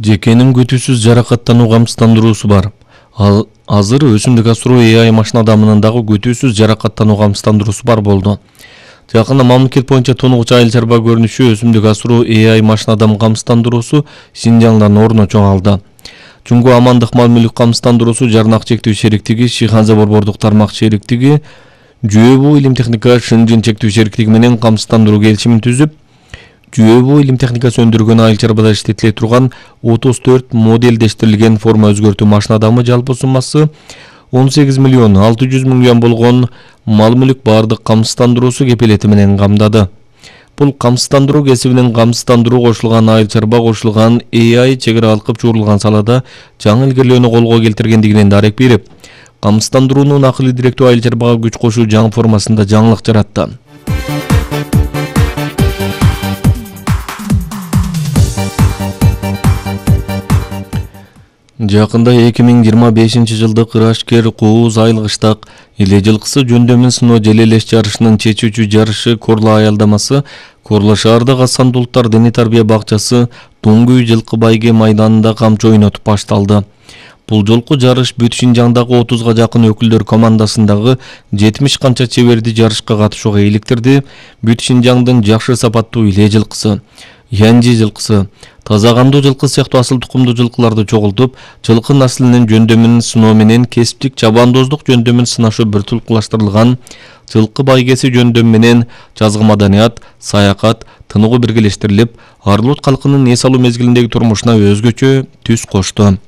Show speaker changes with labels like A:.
A: Жекенин күтүүсүз жаракаттануу камсыздандыруусу бар. Азыр өсүмдүк асыруу AI машина адамынын дагы күтүүсүз жаракаттануу камсыздандыруусу бар болду. Жакында мамлекет боюнча тунукчу айыл чарба көрүнүшү өсүмдүк асыруу AI машина адам камсыздандыруусу Синжаңдан орун алды. Жунгу амандык мал мүлк камсыздандыруусу Жарнак чектүү шериктиги, Шиханза борбордук тармак шериктиги, Жүйөбүү илим техника Шынжын чектүү шериктиги менен камсыздандыруу келишимин түзүп, Жүйөбүү илим техникасы өндүргөн айыл чарбада иштетиле турган 34 моделдештирилген форма өзгөртүү машина адамы жалпы суммасы 18 миллион 600 миң юан болгон мал мүлк баардык камсыздандыруусу кепилети менен камдады. Бул камсыздандыруу кесибинен камсыздандыруу кошулган айыл чарба кошулган AI чек ара алкып чуурулган салада жаңы илгерилөөнү колго келтиргендигинен дарек берип, камсыздандыруунун акылы директүү айыл чарбага күч кошуу жаңы формасында жаңылык жаратты. Жакында 2025 жылдык Ырашкер Кууз айыл кыштак эле жылкысы жөндөмүн сыноо желелеш жарышынын чечүүчү жарышы Корла аялдамасы Корла шаардык Асан Булуттар дене тарбия бакчасы Туңгүй жылкы байге майданында камчы ойнотуп башталды. Бул жолку жарыш бүт Шинжаңдагы 30га жакын өкүлдөр командасындагы 70 канча чеберди жарышка катышууга иликтирди. Бүт Шинжаңдын жакшы сапаттуу эле жылкысы, Янжи жылкысы, таза кандуу жылкы сыяктуу асыл тукумдуу жылкыларды чогултуп, жылкы наслинин жөндөмүн сыноо менен кесиптик чабандоздук жөндөмүн сынашуу бир тулкулаштырылган жылкы байгеси жөндөм менен жазгы маданият, саякат, тыныгуу биргелештирилип, Арлут калкынын эс алуу мезгилиндеги турмушуна өзгөчө түс кошту.